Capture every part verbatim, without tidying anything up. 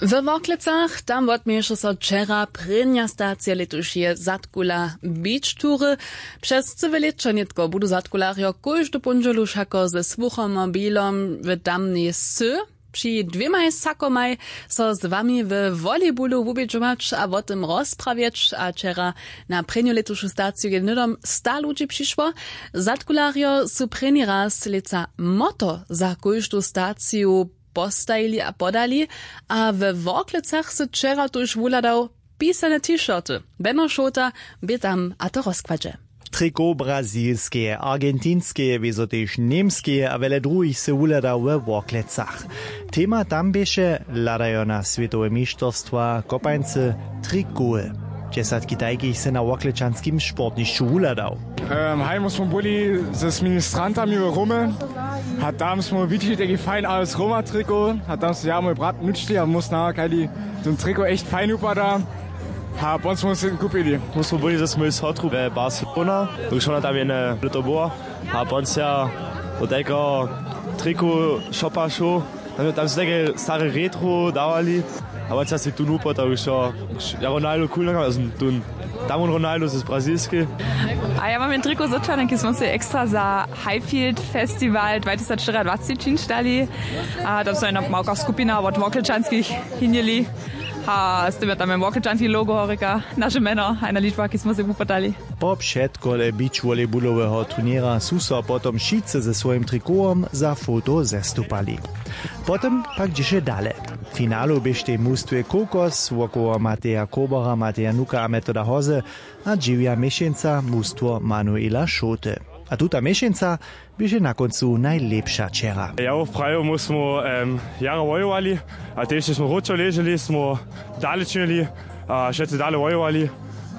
We Worklecach tam wotměješe so wčera prěnja stacija lětušeje zadkula beach tury. Přez cyłe lěćo nětko budu zadkularjo kóždu póndźelu wšako ze słuchomobilom w tamnej sy při dwěmaj sakomaj so z wami we volleybulu wubědźować a wo tym rozprawjeć a wčera na prěnju lětušu staciju je hnydom sta ludźi přišło. Zadkularjo su prěni raz lětsa moto za kóždu staciju postajili a podali. A we Worklecach sy wčera tuž wuhladał pisane t-shirty. Beno Šołta bě tam a to rozkładźe. Triko brazilskeje argentinskeje wězo tež němskeje a wjele druhich sy wuhladał we Worklecach. Tema tam běše hladajo na swětowe mišterstwa kopańcy trikoły. Dźesatki tajkich sy na worklečanskim sportnišću wuhladał. Haj my smo byli z ministrantami w Rome a tam smo widźeli taki fajn als Roma triko a tam so ja mój brat nučili a my snakali, ten triko echt fajn wupada. A pon smo se kupili. My smo byli ze swojej sotru we Barcelona, dokelž ona tam jedne lěto była. A pon se ja do tajkeho triku shopa šoł. Tam, tam su tajke stare retro dawali. A wón se tón wupoł, tak wšo. Ja Ronaldo cool nakam, ja som tón. Tam wón Ronaldo z brazilskej. A ja mam jen triko z Otšarnjenki, smo sej ekstra za Highfield Festival dwa tysac štyriadwacci činšć dali. A tam so jedna małka skupina wot Worklečanskich hinjeli. A z tym je tam jen Worklečanski logo horika, naše mjeno a jedna ličba, ki smo sej wupodali. Po předkole beach volleybuloweho turněra su so potom wšitcy ze swojim trikowom za foto zestupali. Potom pak dźěše dale. W finalu běštej mustwje Kokos wokoło Mateja Kobora, Mateja Nuka a Metoda Hoze a dźewja měšeńca mustwo Manuela Šołty. A tuta měšeńca běše na kóncu najlěpša wčera. Ja woprawju my smo em, jara wojowali a tež smo wróćo leželi, smo dale činili a wšetcy dale wojowali.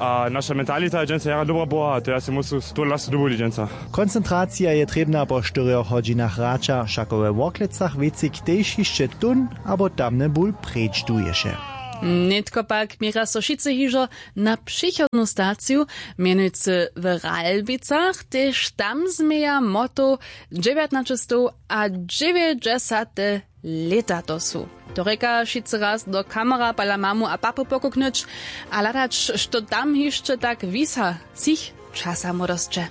A naša mentalita je dźensa jara dobra była a to ja se musu to lasu dubuli dźensa. Koncentracija je trěbna po štyrjoch hodźinach hraća, wšako we Worklecach wěcik tež hišće tón abo tamny bul preč duješe. Nětko pak měra so wšitcy hižo na přichodnu staciju, mjenujcy w Ralbicach, tež tam změja moto dźewjatnaćestow a dźewjećdźesate lěta to su. To rěka wšitcy raz do kamera pala mamu a papu pokuknyć a hladać, što tam hišće tak wisa třich časa młodosće.